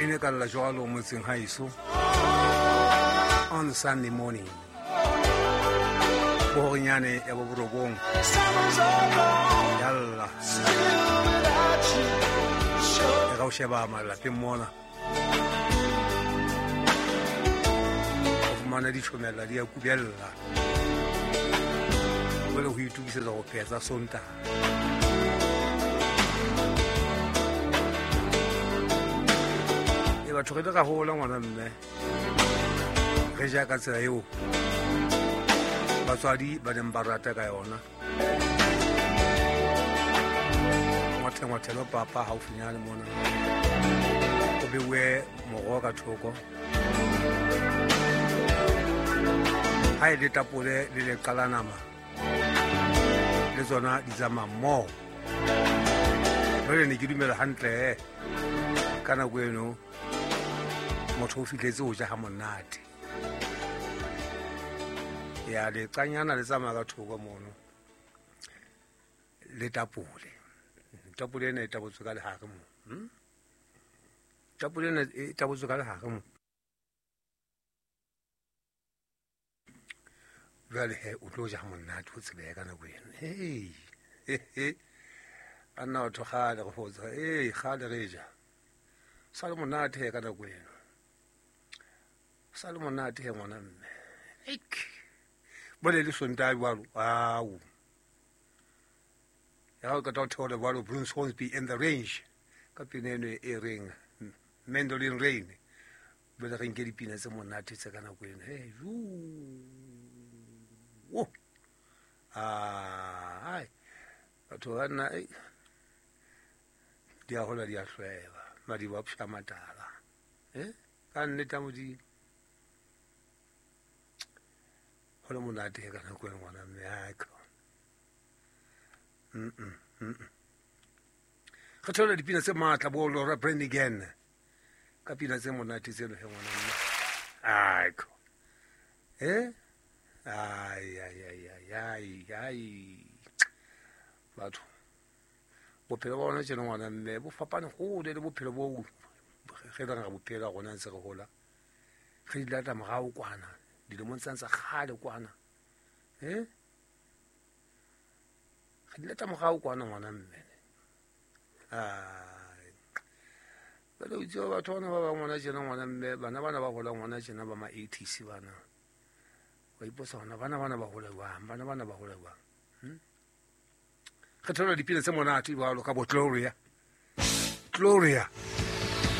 Ne ka lla jwalo motseng haeso on Sunday morning bohorinyane ya boborobong yalla e ka o sheba malapeng mona o fumana ditjhomela di a kubella jwale ho itokisetsa go pheha tsa Sontaha. E batho re le ra hola ngwana mme re ja ka tsela eo batswadi ba neng ba rata ka yona. Ngwathengwathelo papa haufinyane mona o beuwe moroho ka thoko, ha e le tapole le leqa la nama le tsona di tsamaya mmoho. Jwale ne ke dumela hantle ka nako eno motho o fihletse ho ja ha monate. Ya leqanyana le tsamaya ka thoko mono le tapole. Tapole ena e tabotswe ka lehare mo. Tapole ena e tabotswe ka lehare mo. Jwale he o tlo ja monate o tsebehe ka nako eno. Hei, anna batho kgale re fotsa, ee kgale re ja. Sa le monate he ka nako eno. Sa le monate he ngwana mme. Eik. Bole le Sontaha jwalo, au. Ya o qeta ho theola jwalo Bruce Hornsby and the Range ka pina eno e reng Mandolin Rain. Bole re nke dipina tse monate tse ka nako eno. Hey, jo. Ai. Batho ba nna di a hola di a hlweba, madiba a psha matala. Ka nnete ya Modimo. Ho le monate ka nako e ngwana mme a ka. Re theola dipina tse matla bo Laura Branigan ka pina tse monate tseno he ngwana mme. Aiko. Ai ai ai ai ai ai. Batho bophelo ba bona tjena ngwana mme bo fapane hole le bophelo bo re reng re bophela rona ntse re hola. Re di lata morao kwana dilemong tsane tsa kgale kwana. Re di lata morao kwana ngwana mme. Ai. Jwale o itse batho bana ba bang ngwana tjena ngwana mme bana bana ba hola ngwana tjena ba ma 80s bana. Wa ipotsa hona bana bana ba hola jwang, bana bana ba hola jwang. Re thola dipina tse monate jwalo ka bo Gloria. Gloria.